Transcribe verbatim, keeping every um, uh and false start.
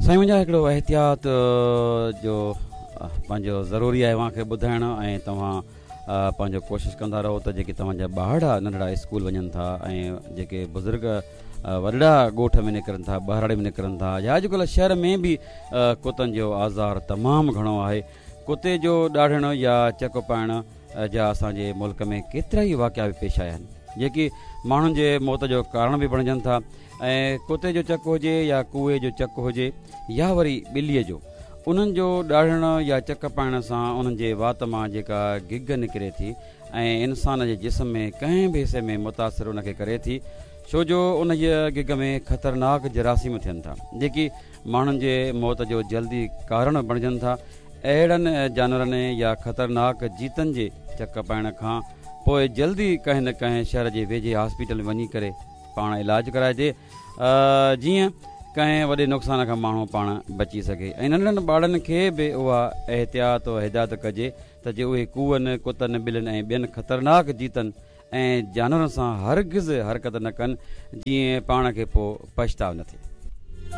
سائين منهنجا، هڪڙو احتياط جو پنهنجو ضروري آهي اوهان کي ٻڌائڻ، ۽ توهان پنهنجو ڪوشش ڪندا رهو ته جيڪي توهان جا ٻارڙا ننڍڙا اسڪول وڃن ٿا ۽ جيڪي بزرگ وڏڙا ڳوٺ ۾ نڪرن ٿا، ٻهراڙي ۾ نڪرن ٿا، يا اڄڪلهه شهر ۾ به ڪتن جو آزار تمام گهڻو آهي. ڪتي جو ڏاڙهڻ يا چڪ پائڻ جا اسان جي ملڪ ۾ ڪيترا ئي واقعا به پيش آيا آهن، جيڪي ماڻهن جي موت جو ڪارڻ به بڻجن ٿا. ۽ ڪتي جو چڪ هجي يا ڪوئي جو چڪ هجي يا وري ٻليء جو، انهن جو ڏاڙهڻ يا چڪ پائڻ سان انهن جي وات مان جيڪا گگ نڪري ٿي ۽ انسان جي جسم ۾ ڪنهن به حصي ۾ متاثر ان کي ڪري ٿي، ڇو جو انهيء گگ ۾ خطرناڪ جراثيم ٿين ٿا، جيڪي ماڻهن جي موت جو جلدي ڪارڻ بڻجن ٿا. اهڙن جانورن يا خطرناڪ جيتن جي چڪ پائڻ کان پوء جلدي ڪنهن نه ڪنهن شهر جي ويجهي هاسپيٽل ۾ وڃي ڪري پاڻ علاج ڪرائجي، جيئن ڪنهن وڏي نقصان کان ماڻهو پاڻ بچي سگهي. ۽ ننڍڙن ٻارڙن کي به اها احتياط و هدايت ڪجي ته جي اهي ڪوئن، ڪتن، ٻلين ۽ ٻين خطرناڪ جيتن ۽ جانورن سان هرگز حرڪت نه ڪن، جيئن پاڻ کي پوء پڇتاء نه ٿئي.